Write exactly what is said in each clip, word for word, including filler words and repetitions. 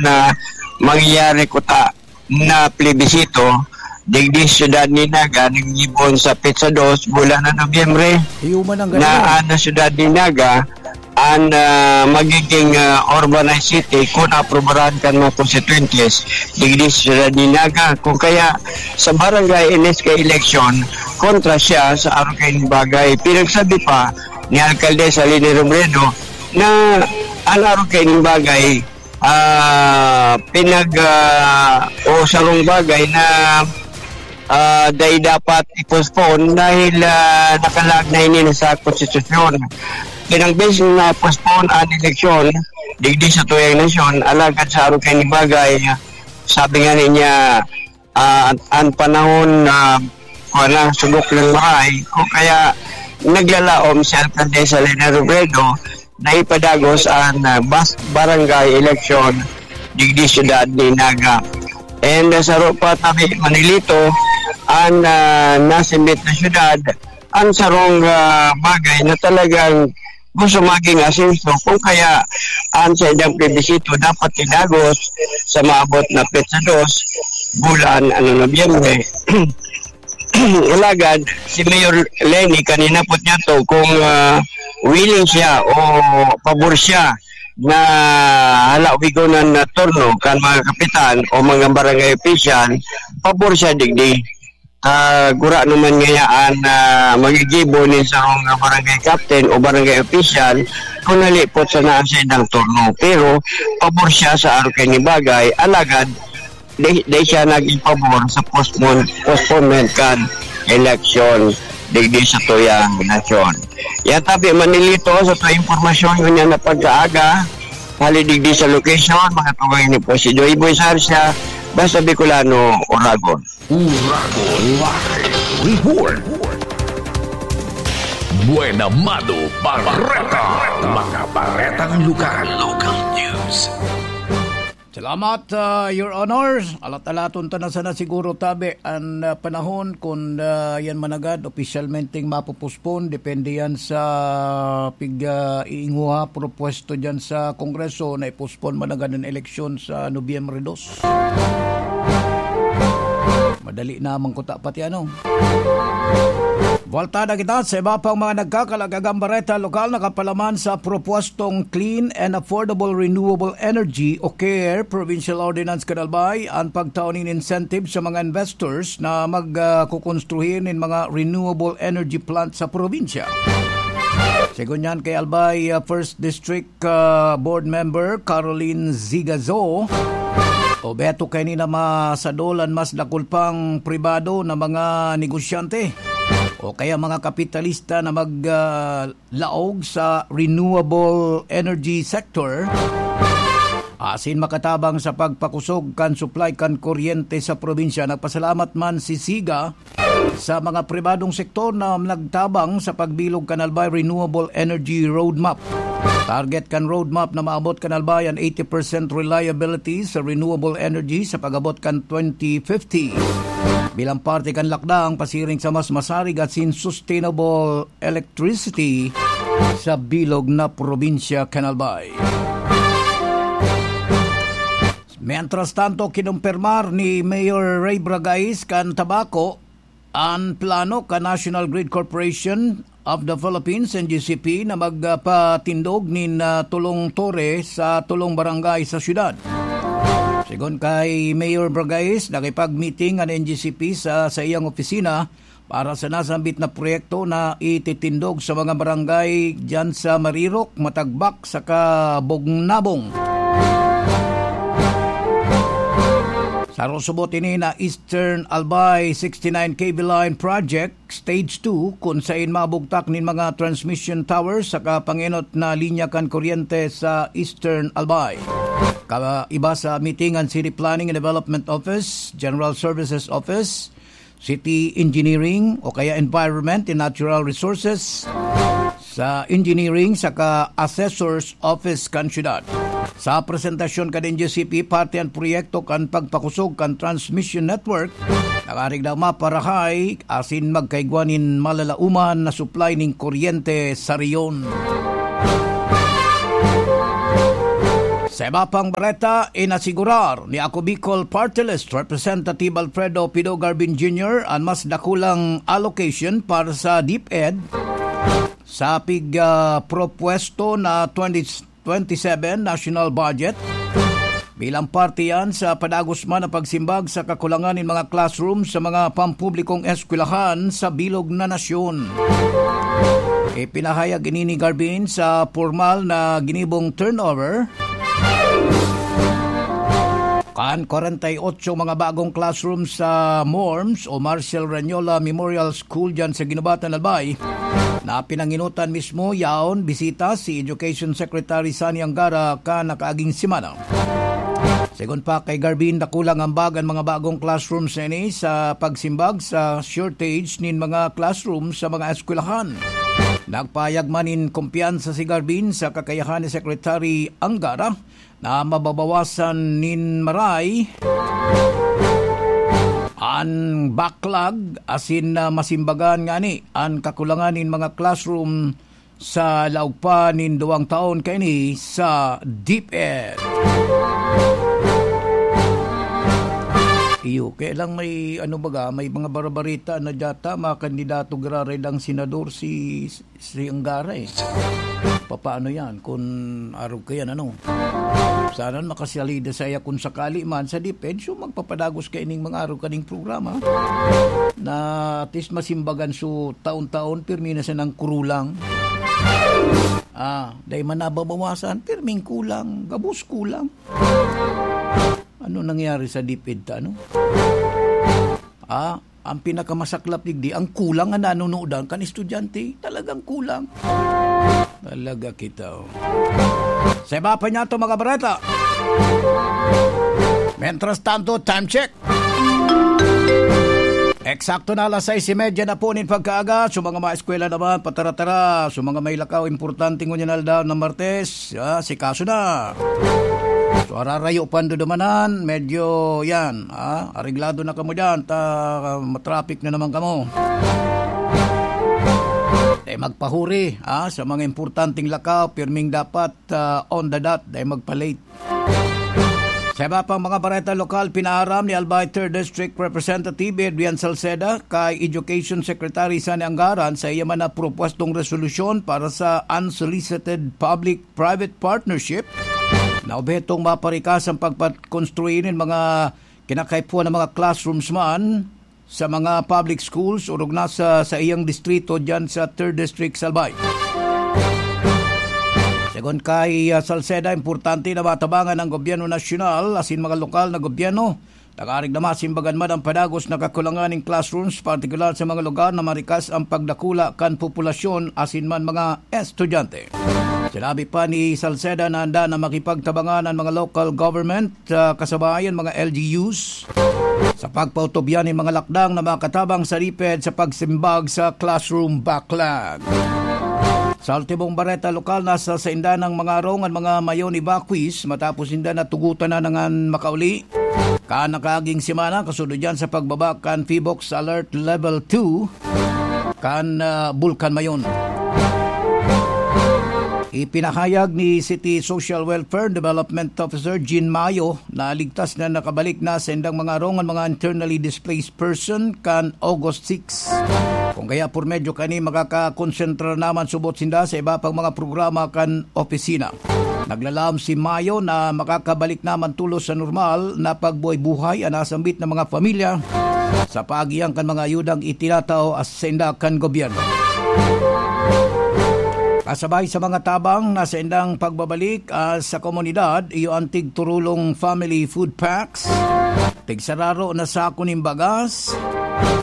na mangyayari kuta na plebisito digdi sa siyudad ni Naga, naggibo sa petsa dos, bulan na Nobyembre, Iyo man ang na ganun. Ang siyudad ni Naga ang, ah, magiging, ah, urbanized city kung aprubaran kan mga konstituyentes digdi sa siyudad ni Naga. Kung kaya, sa barangay N S K election, kontra siya sa arog kaining bagay. Pinagsabi pa ni Alcaldesa Leni Robredo na ang arog kaining bagay, ah, pinag, ah, o sarong bagay na, ah, dai dapat i-postpone dahil, ah, nakalaag na ini sa konstitusyon. Pinang beses na postpone ang eleksyon digdi sa tuyang nasyon, alagad sa arog kaining bagay, sabi nga niya, ah, an, an panahon na, kuwan na, sugok ng maray, o kaya naglalaom si Alcaldesa Leni Robredo na ipadagos ang, ah, bas-, barangay election digdi siyudad ni Naga. And, ah, saro pa tabi, Manilito, ang, ah, nasimbit na siyudad, ang sarong, ah, bagay na talagang gusto maging asenso, kung kaya ang saindang plebisito dapat idagos sa maabot na petsa dos, bulan, ano, Nobyembre. Alagad, si Mayor Leni, kanina po niya to, kung, ah, willing siya o pabor siya na halawigon ang turno kan mga kapitan o mga barangay official, pabor siya digdi. Ah, gura naman ngayaan na magigibo nin sarong barangay captain o barangay official kung nalipot sana ang saindang turno. Pero pabor siya sa arog kaining bagay, alagad di, di siya naging pabor sa postpone, postponement kan eleksyon digdi sa tuyang nasyon. Yan tabi, Manilito, sa tuyang impormasyon, ngunyan na pagkaaga, hali digdi sa location, mga tugang ni po si Joy Boy Sarsia, basta Bicolano, Oragon. Uragon Live Report. Buena Mado Barreta. Mga baretang lokal. Local news. Salamat, ah, Your Honor. Alat-alaton ta na sana siguro tabi an, ah, panahon kun, ah, yan managad opisyalmenteng mapopospon. Depende yan sa pig, ah, iinguha, propuesto dyan sa Kongreso na ipospon managad an eleksyon sa Nobyembre dos. Madali na man kuta pati ano. Buwaltada kita sa iba pang mga nagkakalagang bareta lokal na kapalaman sa propuestong Clean and Affordable Renewable Energy o care Provincial Ordinance kan Albay an pagtao nin incentive sa mga investors na mag, ah, kukonstruhi nin mga renewable energy plant sa probinsya. Segun yan kay Albay, ah, First District ah, Board Member Caroline Zigazo, o Beto, kaini na masadolan mas dakul pang pribado na mga negosyante o kaya mga kapitalista na mag, ah, laog sa renewable energy sector asin makatabang sa pagpakusog kan supply kan kuryente sa probinsya. Nagpasalamat man si Ziga sa mga pribadong sektor na nagtabang sa pagbilog kan Albay Renewable Energy Roadmap. Target kan roadmap na maabot kan Albay an eighty percent reliability sa renewable energy sa pag-abot kan twenty fifty. Bilang parte kan lakdang pasiring sa mas masarig asin sustainable electricity sa bilog na probinsya kan Albay. Mientras tanto, kinumpirmar ni Mayor Ray Bragais kan Tabaco an plano kan National Grid Corporation of the Philippines, N G C P, na magpatindog nin, ah, tolong tore sa tolong barangay sa syudad. Segun kay Mayor Bragais, nakipag-meeting an N G C P sa saiyang opisina para sa nasambit na proyekto na ititindog sa mga barangay diyan sa Marirok, Matagbak, saka Bugnabong. Sarosubot ini na Eastern Albay sixty-nine K V Line Project Stage two, kun sain mabugtak nin mga transmission towers saka pangenot na linya kan kuryente sa Eastern Albay. Kaiba sa meeting an City Planning and Development Office, General Services Office, City Engineering o kaya Environment and Natural Resources, sa Engineering saka Assessor's Office kan syudad. Sa presentasyon kan N G C P, parte an proyekto kan pagpakusog kan transmission network na karigdaw maparahay asin magkaigwa nin malalauman na supply nin kuryente sa rehiyon. Sa iba pang bareta, inasigurar ni Ako Bicol Party List Representative Alfredo Pido Garbin Junior an mas dakulang allocation para sa DepEd sa pig, ah, propuesto na twenty twenty-seven national budget. Bilang parte yan sa padagos man na pagsimbag sa kakulangan nin mga classroom sa mga pampublikong eskwelahan sa bilog na nasyon. Ipinahayag ini ni Garbin sa pormal na ginibong turnover. Kan kwarenta y otso mga bagong classroom sa MORMS o Marcel Ranyola Memorial School diyan sa Guinobatan, Albay, na pinanginutan mismo yaon bisita si Education Secretary Sonny Angara kan nakaaging semana. Segun pa kay Garbin, dakulang ambag an mga bagong classrooms na ini sa pagsimbag sa shortage nin mga classroom sa mga eskwelahan. Nagpahayag man nin kumpiyansa si Garbin sa kakayahan ni Secretary Angara na mababawasan nin maray an backlog asin, ah, masimbagan ngani an kakulangan nin mga classroom sa laog pa nin duwang taon kaini sa DepEd. Iyo, kaya lang may ano baga, may mga barabarita na dyata, mga kandidato giraray lang senador si, si Angara eh. Papaano yan kung arog ka yan, ano? Sana makasalida saya kung sakali man sa DepEd, so magpapadagos ka ining mga arog kaning programa na at least masimbagan so taon-taon, pirmi na sanang kurulang. Ah, dahil man nababawasan, pirming kulang, gabos kulang. Ano nangyari sa DepEd ta, ano? Ah, ang pinakamasaklap digdi, ang kulang na nanunodan kan estudyante. Talagang kulang. Talaga kita, oh. Sa iba pa niya to, mga bareta. Mientras tanto, time check. Eksakto na alas sais y media na po nin pagkaaga. So, mga maeskwela naman, patara-tara. So, mga may lakaw, importante ngunyan aldaw na Martes, ah, si kaso na. So, ararayo pa ang dudumanan. Medyo, yan, ah, areglado na kamo dyan. Ta, matraffic na naman kamo. Eh, magpahuri, ah, sa mga importanteng lakaw, pirming dapat, ah, on the dot, dahil magpa-late. Sa iba pang mga bareta lokal, pinaaram ni Albay Third District Representative Adrian Salceda kay Education Secretary Sani Anggaran sa iya man na propwestong resolusyon para sa unsolicited public-private partnership na obhetong maparikas ang pagpakonstruir nin mga kinakaipuhan ng mga classrooms man sa mga public schools orog na sa saiyang distrito diyan sa Third District, Salbay. Segun kay, ah, Salceda, importante na matabangan ang gobyerno nasyonal asin mga lokal na gobyerno tangarig na masimbagan man ang padagos na kakulangan nin classrooms, partikular sa mga lugar na marikas ang pagdakula kan populasyon asin man mga estudyante. Sinabi pa ni Salceda na handa na makipagtabangan ang mga local government, ah, kasabay an mga L G Us sa pagpautubyan nin mga lakdang na makatabang sa DepEd sa pagsimbag sa classroom backlog. Sa ultimong bareta lokal, nasa sainda ng mga arong an mga mayon evacuees matapos ninda natugutan na nangan makauli. Kan nakaaging semana, kasunod yan sa pagbaba kan PHIVOLCS Alert Level two kan, ah, Bulkan Mayon. Ipinahayag ni City Social Welfare and Development Officer Jean Mayo na ligtas na nakabalik na sa indang mga arong an mga internally displaced person kan August six. Kung kaya por medyo kani makakakonsentra naman subot sinda sa iba pang mga programa kan opisina. Naglalaom si Mayo na makakabalik naman tulos sa normal na pagbuhay-buhay an nasambit na mga pamilya sa paagian kan mga ayudang itinatao sa inda kan gobyerno. Kasabay sa mga tabang na sa indang pagbabalik, ah, sa komunidad, iyo ang tigturulong family food packs, tigsararo na sako nin bagas,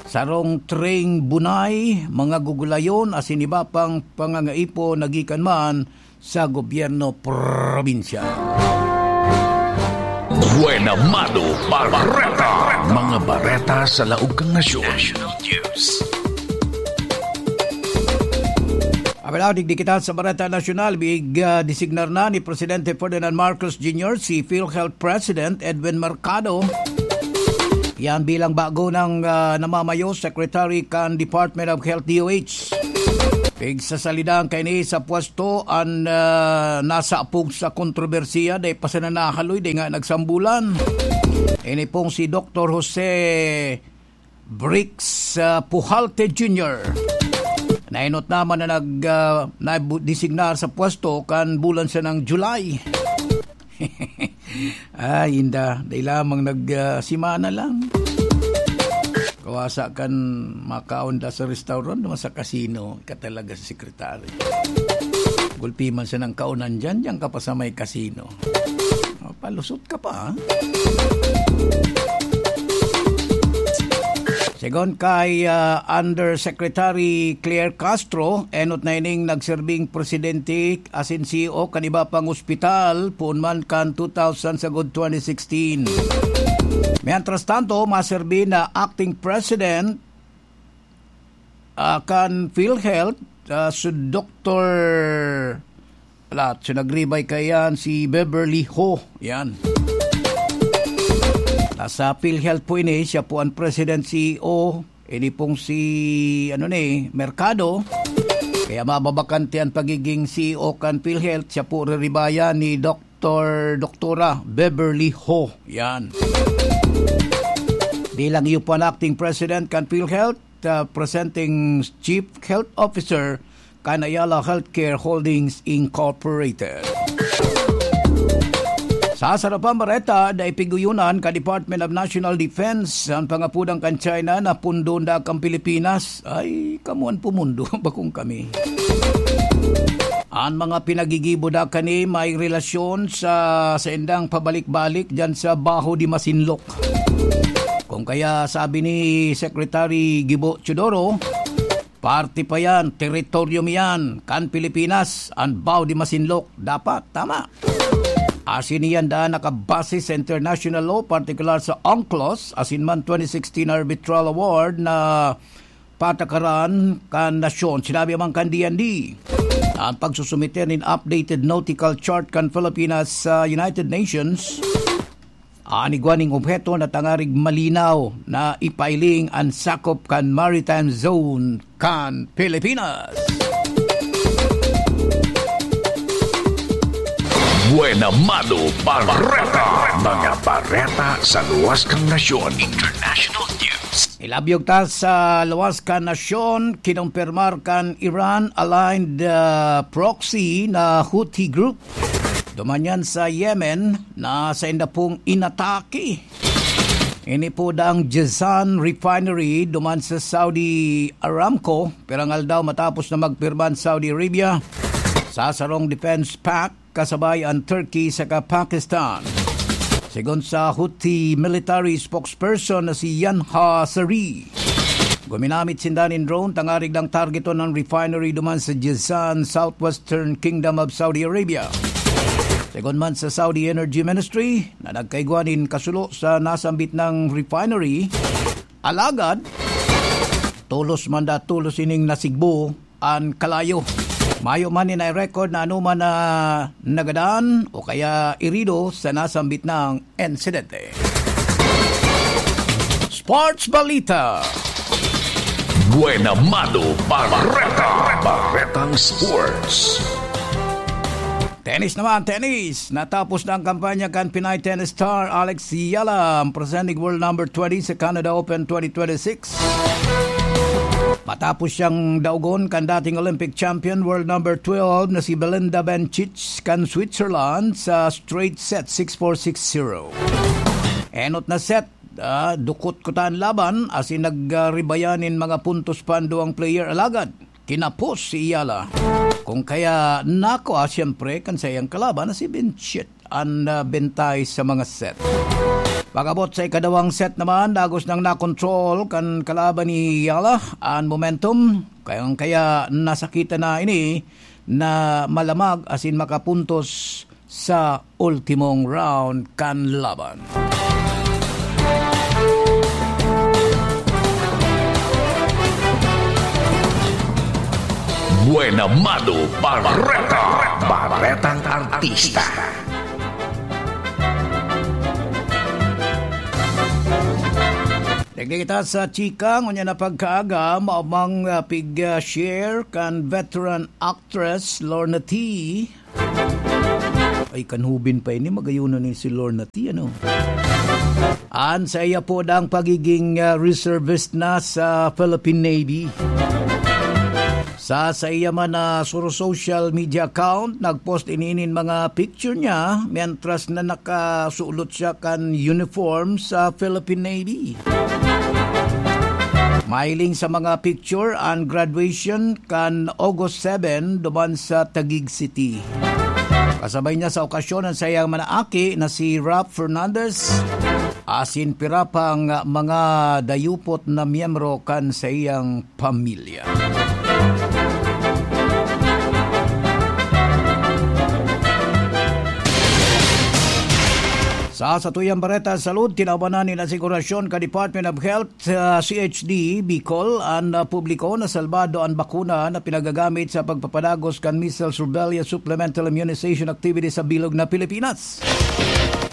sarong tring bunay, mga gugulayon, asin iba pang pangangaipo na gikan man sa gobyerno probinsya. Buena Mano Bareta. Mga bareta sa laog kan nasyon. National News. Abalaw, digdi kita sa Bareta Nasyonal, big, ah, designar na ni Presidente Ferdinand Marcos Junior si PhilHealth President Edwin Mercado. Yan bilang bago ng, ah, namamayo Secretary kan Department of Health, D O H. Pigsasalidahan kaini sa pwesto an, ah, nasapog sa kontrobersiya, dai pa sana nahaloy, dai nga nagsambulan. Ini pong si Doktor Jose Bricks, ah, Pujalte Junior. Nainot naman na nag, ah, nabu-, designar sa pwesto kan bulan siya ng July. Ay, inda. Dai lamang nag, ah, simana lang. Kawasa kan makaon da sa restaurant, naman sa casino, ka talaga sa sekretary. Gulpi man siya ng kaonan dyan, dyan ka pa sa may casino. Oh, palusot ka pa, ha? Segun kay, ah, Undersecretary Claire Castro, enot na ining nagserbing presidente asin C E O kan iba pang ospital, poon man kan two thousand sagod twenty sixteen. Mientras tanto, maserbi na acting president, ah, kan PhilHealth, ah, si Doktor, ala, si nagribay kaiyan, si Beverly Ho. Yan. Nasa PhilHealth po ini, siya po ang president C E O. Ini pong si, ano ni, Mercado. Kaya mababakante ang pagiging C E O kan PhilHealth. Siya po riribayan ni Doktor, Doktora Beverly Ho. Yan. Bilang iyo po ang acting president kan PhilHealth, uh, presenting Chief Health Officer kan Ayala Healthcare Holdings Incorporated. Sa sarapang bareta, dai piguyonan ka Department of National Defense an pangapodan kan China na pundon da kan Pilipinas. Ay, kamuan pumundo, bakong kami. An mga pinagigibo da kani may relasyon sa saindang pabalik-balik diyan sa Baho de Masinloc. Kung kaya sabi ni Secretary Gibo Teodoro, parte pa yan, teritoryo mi yan, kan Pilipinas, an Baho de Masinloc. Dapat, tama. Asin iyan daan nakabase sa international law, partikular sa UNCLOS, asin man twenty sixteen Arbitral Award na patakaran kan nasyon. Sinabi man kan D N D, ang pagsusumiter nin updated nautical chart kan Pilipinas sa United Nations, an igwa ning obheto na tangarig malinaw na ipailing an sakop kan maritime zone kan Pilipinas. Buena Mano Bareta. Mga bareta sa luwas kan nasyon. International news. Ilabyog ta sa luwas kan nasyon, kinumpirmar kan Iran-aligned, ah, proxy na Houthi group. Duman yan sa Yemen na sainda pong inatake. Ini po daang Jazan Refinery duman sa Saudi Aramco, pirang aldaw matapos na magpirma an Saudi Arabia sa sarong defense pact kasabay an Turkey saka Pakistan. Segun sa Houthi military spokesperson na si Yanha Sari, guminamit sinda nin drone tangarig dang targeton an refinery duman sa Jazan, Southwestern Kingdom of Saudi Arabia. Segun man sa Saudi Energy Ministry na nagkaigwa nin kasulo sa nasambit na refinery, alagad tolos man da, tolos ining nasigbo an kalayo. Mayo man ni na-record na anoman na nagadan o kaya irido sa nasambit na insidente. Sports Balita. Buena Mano Bareta. Baretang Sports. Tennis naman, tennis. Natapos na ang kampanya kan Pinay tennis star Alex Yala, ang presenting world number twenty sa Canada Open twenty twenty-six. Matapos siyang daugon kan dating Olympic champion, world number twelve na si Belinda Bencic kan Switzerland sa straight set, six four, six zero. Enot na set, ah, dukot kuta an laban, asin nagribayan nin mga puntos pa an duwang player, alagad kinapos si Yala. Kung kaya nako, ah, siyempre, kan saiyang kalaban na si Bencic an, ah, bentay sa mga set. Pag-abot sa ikadawang set naman, dagos nang nakontrol kan kalaban ni Yala an momentum, kaya, kaya nasakitan na ini na malamag asin makapuntos sa ultimong round kan laban. Buena Mano Bareta, Baretang Artista. Nagdi kita sa chika, ngunyan na pagkaaga, maumang, ah, pig, ah, share kan veteran actress Lorna T. Ay, kanhubin pa ini, magayunan ni si Lorna T, ano? An saiya po dang pagiging, ah, reservist na sa Philippine Navy. Sa saiya man na sur-, social media account, nag-post ini nin mga picture niya mientras na nakasulot siya kan uniform sa Philippine Navy. Mahiling sa mga picture an graduation kan August seven duman sa Taguig City. Kasabay niya sa okasyon an saiyang mga aki na si Ralph Fernandez asin pira pang mga dayupot na miyembro kan saiyang pamilya. Sa satuyang bareta, salud, tinawan na nin asigurasyon kan Department of Health, ah, C H D Bicol, an, ah, publiko na salbado an bakuna na pinagagamit sa pagpapadagos kan measles rubella supplemental immunization activity sa bilog na Pilipinas.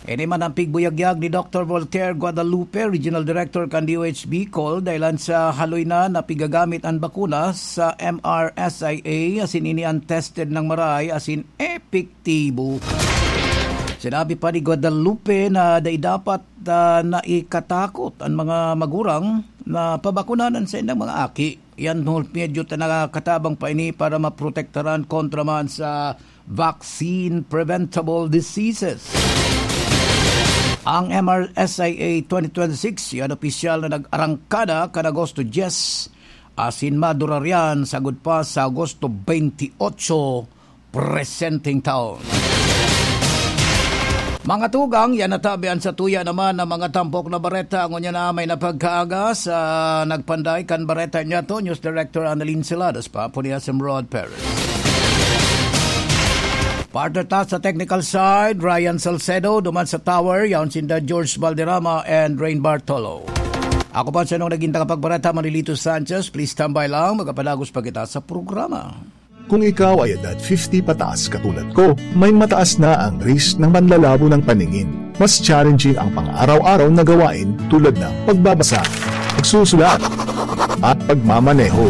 Ini man an pigbuyagyag ni Doctor Voltaire Guadalupe, Regional Director kan D O H Bicol, dahilan sa haloy na na pigagamit an bakuna sa M R S I A, asin ini an tested nang marahay asin epektibo. Sinabi pa ni Guadalupe na dai dapat, ah, na ikatakot an mga magurang na pabakunan an saindang mga aki. Yan, medyo ta nakatabang pa ini para maprotektaran kontra man sa vaccine-preventable diseases. Ang M R S I A twenty twenty-six, yan opisyal na nag-arangkada kan Agosto diyes, asin madurar yan sagkod pa sa Agosto twenty-eight, presenteng taon. Mga tugang, yan natabi an satuya naman na mga tampok na bareta. Ngunyan na may napagkaaga sa nagpanday kan bareta niyato, News Director Annalyn Celadas, Papo ni S M Rod Perez. Partner ta sa technical side, Ryan Salcedo, duman sa tower, yaon sinda George Valderrama and Rain Bartolo. Ako pa sa inong naging tagapagbareta, Manilito Sanchez. Please standby lang, magkapadagos pa kita sa programa. Kung ikaw ay edad fifty pataas katulad ko, may mataas na ang risk ng manlalabo ng paningin. Mas challenging ang pang-araw-araw na gawain tulad ng pagbabasa, pagsusulat, at pagmamaneho.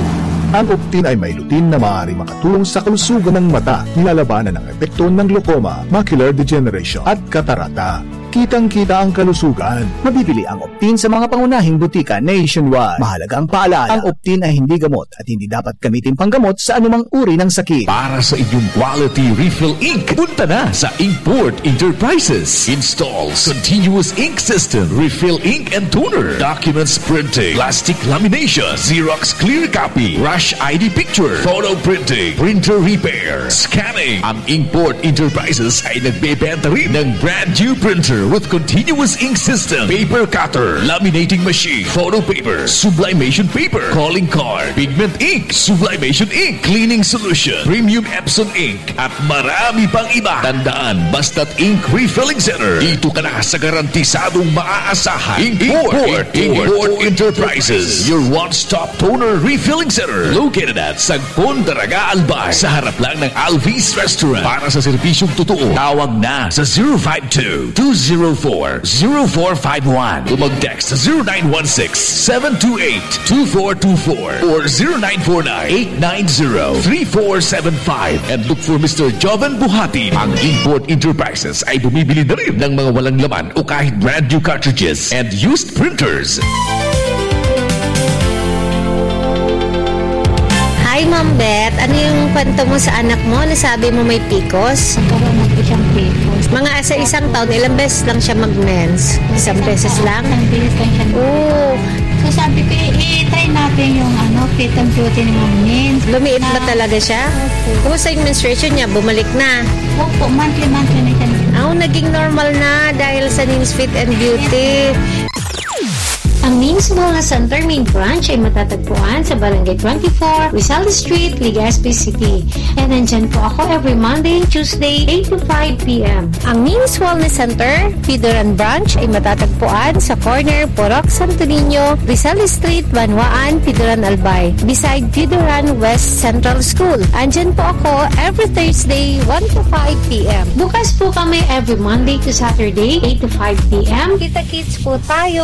Ang Optin ay may lutein na maaaring makatulong sa kalusugan ng mata, nilalabanan ang epekto ng glaucoma, macular degeneration, at katarata. Kitang-kita ang kalusugan. Mabibili ang Optin sa mga pangunahing butika nationwide. Mahalagang paalala, ang Optin ay hindi gamot at hindi dapat gamitin panggamot sa anumang uri ng sakit. Para sa inyong quality refill ink, punta na sa Inkport Enterprises. Installs continuous ink system, refill ink and toner, documents printing, plastic lamination, Xerox clear copy, rush I D picture, photo printing, printer repair, scanning. Ang Inkport Enterprises ay nagbebenta rin ng brand new printer with continuous ink system, paper cutter, laminating machine, photo paper, sublimation paper, calling card, pigment ink, sublimation ink, cleaning solution, premium Epson ink, at marami pang iba. Tandaan, basta't ink refilling center, dito ka na sa garantisadong maaasahan. Inkport, Inkport Enterprises, your one-stop toner refilling center, located at Sagpon, Daraga, Albay, sa harap lang ng Alvis Restaurant. Para sa serbisyong totoo, tawag na sa zero five two, two zero four, zero four five one o mag-text sa zero nine one six, seven two eight, two four two four or zero nine four nine, eight nine zero, three four seven five and look for Mister Joven Buhati. Ang Inkport Enterprises ay bumibili na rin ng mga walang laman o kahit brand new cartridges and used printers. Hi, Ma'am Beth. Ano yung kwento mo sa anak mo? Nasabi mo may picos? Nagkaroon ng isang picos. Mga sa isang taon, ilang beses lang siya mag-mens? Isang beses lang? Isang beses lang siya. Oo. So, sabi ko, "I-, i-try natin yung, ano, fit and beauty ni Ma'am Mens." Lumiit ba talaga siya? Opo. Kumusta yung menstruation niya? Bumalik na? Opo, monthly-monthly na siya. Ah, naging normal na dahil sa Mens Fit and Beauty. Ang Mens Wellness Center main branch ay matatagpuan sa Barangay twenty-four, Rizal Street, Legazpi City. And nandyan po ako every Monday and Tuesday, eight to five p m. Ang Mens Wellness Center, Pidoran Branch, ay matatagpuan sa corner Purok Santo Niño, Rizal Street, Banwaan, Pidoran, Albay, beside Pidoran West Central School. Andyan po ako every Thursday, one to five p m. Bukas po kami every Monday to Saturday, eight to five p m. Kita-kits po tayo.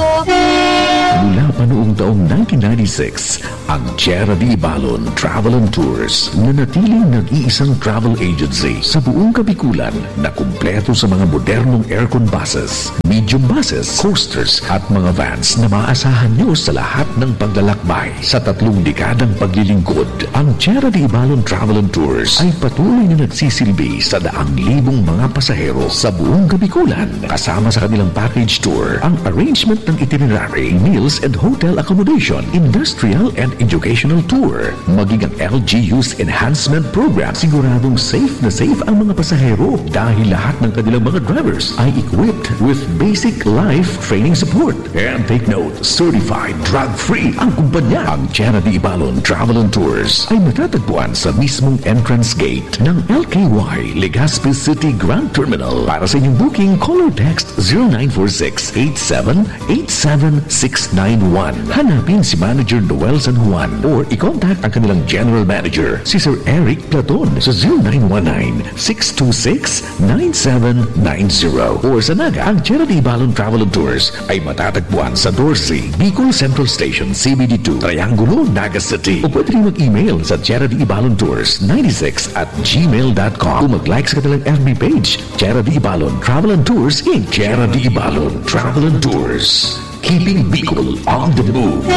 Mula pa noong taong nineteen ninety-six, ang Tierra de Ibalon Travel and Tours nanatiling nag-iisang travel agency sa buong Kabikulan na kumpleto sa mga modernong aircon buses, medium buses, coasters at mga vans na maaasahan nyo sa lahat ng paglalakbay. Sa tatlong dekadang paglilingkod, ang Tierra de Ibalon Travel and Tours ay patuloy na nagsisilbi sa daang libong mga pasahero sa buong Kabikulan. Kasama sa kanilang package tour, ang arrangement ng itinerary, meals and hotel accommodation, industrial and educational tour, maging ang L G U's enhancement program, siguradong safe na safe ang mga pasahero dahil lahat ng kanilang mga drivers ay equipped with basic life training support. And take note, certified drug-free ang kumpanya. Ang Tierra de Ibalon Travel and Tours ay matatagpuan sa mismong entrance gate ng L K Y Legazpi City Grand Terminal. Para sa inyong booking, call or text zero nine four six eight seven eight seven six nine one. Hanapin si Manager Noel San Juan or i-contact ang kanilang General Manager, si Sir Eric Platon, sa zero nine one nine six two six nine seven nine zero. Or sa Naga, ang Tierra de Ibalon Travel and Tours ay matatagpuan sa Dorsey, Bicol Central Station, C B D two, Triangulo, Naga City. O pwede rin mag-email sa Tierra de Ibalon Tours ninety-six at gmail dot com. O mag-like sa kanilang F B page, Tierra de Ibalon Travel and Tours, Inc. Tierra de Ibalon Travel and Tours. Keeping Bicol on the move.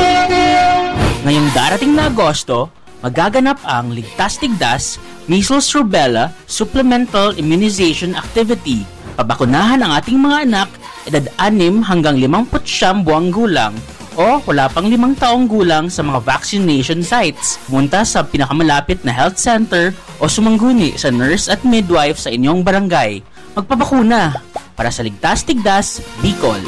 Ngayong darating na Agosto, magaganap ang Ligtas Tigdas Measles Rubella Supplemental Immunization Activity. Pabakunahan ang ating mga anak, edad anim hanggang limampu't siyam buwang gulang o wala pang limang taong gulang sa mga vaccination sites. Pumunta sa pinakamalapit na health center o sumangguni sa nurse at midwife sa inyong barangay. Magpabakuna para sa Ligtas Tigdas, Bicol.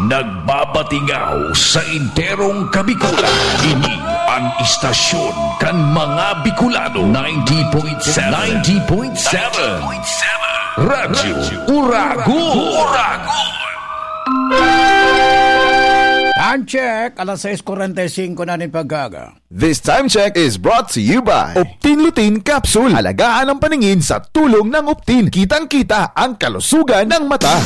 Nagbabatingaw sa enterong Kabikulan. Ini an istasyon kan mga Bicolano, ninety point seven. Ninety point seven. Radyo Uragon. Uragon. Time check, alas sais kuwarenta y singko na nin pagkaga. This time check is brought to you by Optin Lutein Capsule. Alagaan ang paningin sa tulong ng Optin. Kitang-kita ang kalusugan ng mata.